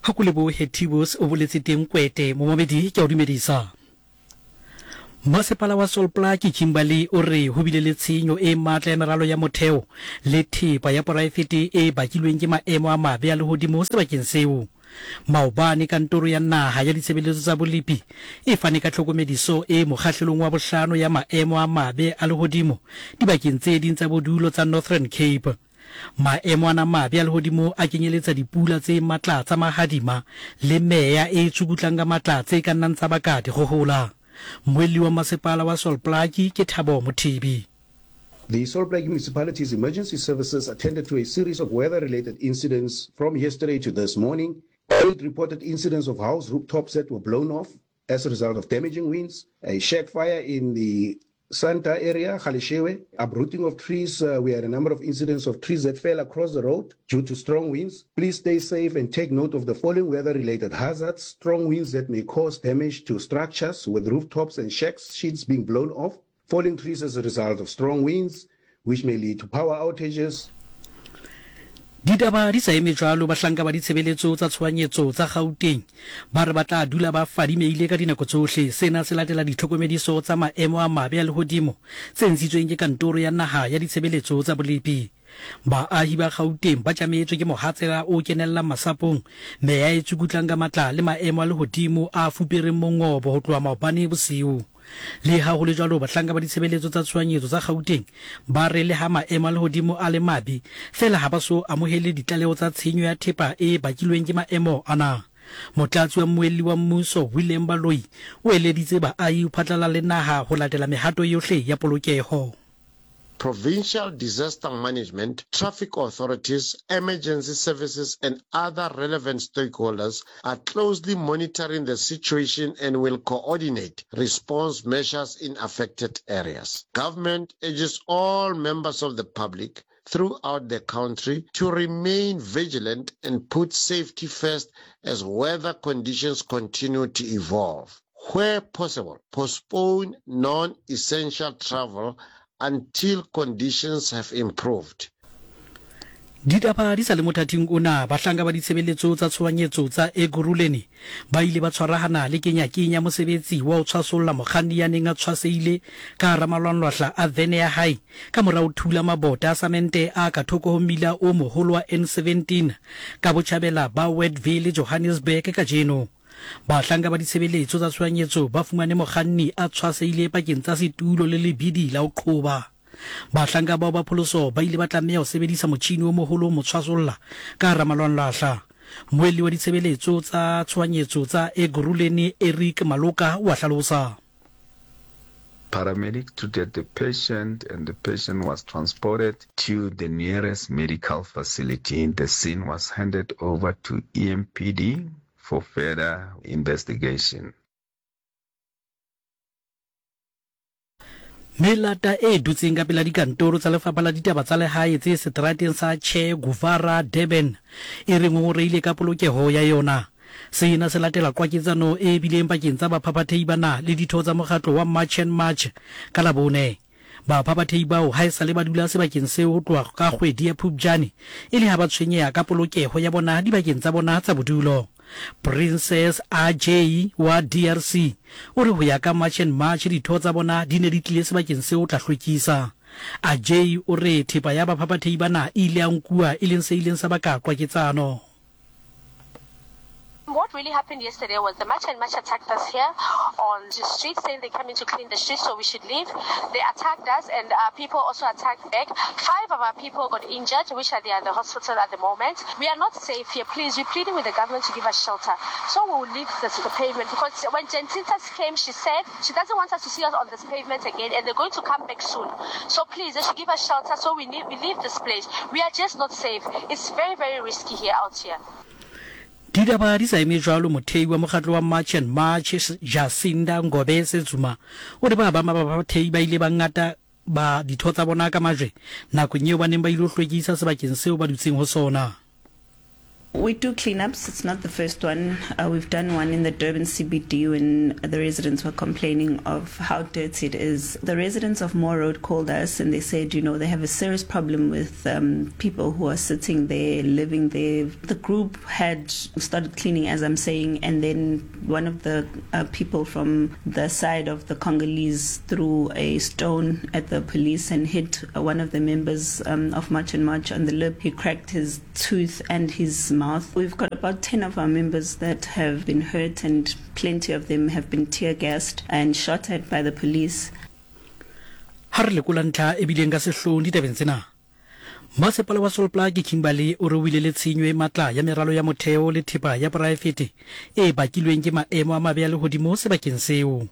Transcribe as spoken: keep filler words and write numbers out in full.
Ha ko lebohe Tibos o boletse teng Kwete momamedi ke a o dumedisa. Masepala wa Sol Plaatje Kimberley o re ho bile le tshenyo e matla ya meralo ya motheo le thepa ya poraefete e bakilweng ke maemo a mabe a lehodimo sebakeng seo. Maobane kantoro ya naha ya ditshebeletso tsa bolepi e fane ka tlhokomediso e mokgahlelong wa bohlano ya maemo a mabe a lehodimo dibakeng tse ding tsa bodulo tsa Northern Cape. Maemo ana mabe a lehodimo a kenyeletsa dipula tse matla tsa mahadima le meya e tsukutlang ka matla tse ka nnang tsa baka dikgohola. Mmuelli wa masepala wa Sol Plaatje ke Thabo Mothibi. The Sol Plaatje Municipality's emergency services attended to a series of weather-related incidents from yesterday to this morning. Eight reported incidents of house rooftops that were blown off as a result of damaging winds, a shack fire in the Santa area, Galeshewe, uprooting of trees. Uh, we had a number of incidents of trees that fell across the road due to strong winds. Please stay safe and take note of the following weather-related hazards. Strong winds that may cause damage to structures with rooftops and shacks, sheets being blown off. Falling trees as a result of strong winds, which may lead to power outages. Ditaba di sa eme jwalo, bahlanka ba ditshebeletso tsa tshohanyetso tsa Gauteng ba re ba tla dula ba fadimehile ka dinako tsohle. Sena se latela ditlhokomediso tsa maemo a mabe a lehodimo tse ntshitsweng ke kantoro ya naha ya ditshebeletso tsa bolepi. Baahi ba Gauteng ba tjametswe ke mohatsela o kenellang masapong, meya e tsukutlang ka matla le maemo a lehodimo a fupereng mongobo ho tloha maobane bosiu. Le ha ho le jwalo, bahlanka ba ditshebeletso tsa tshohanyetso tsa Gauteng ba re le ha maemo a lehodimo a le mabe, feela ha ba so amohele ditlaleho tsa tshenyo ya thepa e bakilweng ke maemo ana. Motlatsi wa mmuelli wa mmuso William Baloyi o eleditse baahi ho phatlalla le naha ho latela mehato yohle ya polokeho. Provincial disaster management, traffic authorities, emergency services, and other relevant stakeholders are closely monitoring the situation and will coordinate response measures in affected areas. Government urges all members of the public throughout the country to remain vigilant and put safety first as weather conditions continue to evolve. Where possible, postpone non-essential travel until conditions have improved. Ditaba di sa le mothating ona, bahlanka ba ditshebeletso tsa tshohanyetso tsa Ekurhuleni ba ile ba tshwarahana le kenyakenya mosebetsi wa ho tshwasolla mokganni ya neng a tshwasehile ka hara malwanlwahla a vene ya hae ka mora ho thula mabota a samente a ka thoko ho mmila o moholo wa N seventeen ka botjhabela ba Westville, Johannesburg kajeno. Bahlanka ba ditshebeletso tsa tshohanyetso ba fumane mokganni a tshwasehile pakeng tsa setulo le lebidi la ho qhoba. Bahlanka bao ba pholoso ba ile ba tlameha ho sebedisa motjhini o moholo ho mo tshwasolla ka hara malwanlwahla. Mmuelli wa ditshebeletso tsa tshohanyetso tsa Ekurhuleni Eric Maloka wa hlalosa. Paramedic treated the patient and the patient was transported to the nearest medical facility. The scene was handed over to E M P D for further investigation. Melata e dutseng ka pela dikantoro tsa lefapha la ditaba tsa lehae tse seterateng sa Che Guevara Durban e re ngongoreile ka polokeho ya yona. Sena se latela qwaketsano e bileng pakeng tsa baphaphathehi bana le ditho tsa mokgatlo wa March and March ka Labone. Baphaphathehi bao ha esale ba dula sebakeng seo ho tloha ka kgwedi ya Phupjane e le ha ba tshwenyeha ka polokeho ya bona dibakeng tsa bona tsa bodulo. Princess A J wa D R C o re ho ya ka March and March ditho tsa bona di ne di tlile sebakeng seo tla hlwekisa. A J o re thepa ya baphaphathehi bana e ile ya nkuwa e leng se ileng sa baka qwaketsano. What really happened yesterday was the March and March attacked us here on the street, saying they're coming to clean the street, so we should leave. They attacked us, and our people also attacked back. Five of our people got injured, which are there at the hospital at the moment. We are not safe here. Please, we're pleading with the government to give us shelter. So we will leave the, the pavement, because when Gentintas came, she said she doesn't want us to see us on this pavement again, and they're going to come back soon. So please, they should give us shelter so we, need, we leave this place. We are just not safe. It's very, very risky here out here. Ditaba di sa eme jwalo, mothei wa mokgatlo wa March and March Jacinda Ngobese Zuma o re ba ba baphaphathehi ba ile ba ngata ba ditho tsa bona ka majwe nakong eo ba neng ba ilo hlwekisa sebakeng seo ba dutseng ho sona. We do cleanups. It's not the first one. Uh, we've done one in the Durban C B D when the residents were complaining of how dirty it is. The residents of Moore Road called us and they said, you know, they have a serious problem with um, people who are sitting there, living there. The group had started cleaning, as I'm saying, and then one of the uh, people from the side of the Congolese threw a stone at the police and hit one of the members um, of March and March on the lip. He cracked his tooth and his mouth. We've got about ten of our members that have been hurt, and plenty of them have been tear gassed and shot at by the police. Ha re lekola ntlha e bileng ka sehloohong ditabeng tsena. Masepala wa Sol Plaatje Kimberley o re o ile le tshenyo e matla ya meralo ya motheo le thepa ya poraefete e bakilweng ke maemo a mabe a lehodimo sebakeng seo.